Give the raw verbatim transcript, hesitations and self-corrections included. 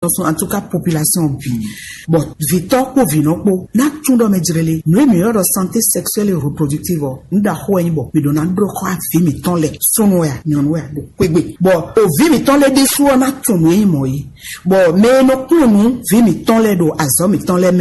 Nɔ sɔn, en tout cas, population bǐ. Bɔ vǐtɔ́ kpó vǐnɔ kpó ná tún ɖɔ mɛ jlɛ lé. Nǔ e mǐ ylɔ́ ɖɔ santé sexuelle et reproductive ɔ́, nǔ ɖaxó wɛ nyí bɔ mǐ ɖo ná ɖó xɔ vǐ mǐtɔn lɛ, súnnu wɛ a, nyɔ̌nu wɛ a, ɖo xwégbe. Bɔ o vǐ mǐtɔn lɛ ɖésú ɔ́ ná tunwun nǔ e nyí mɔ̌ é. Bɔ mɛ e nɔ kplɔ́n nǔ vǐ mǐtɔn lɛ ɖo azɔ̌ mǐtɔn lɛ mɛ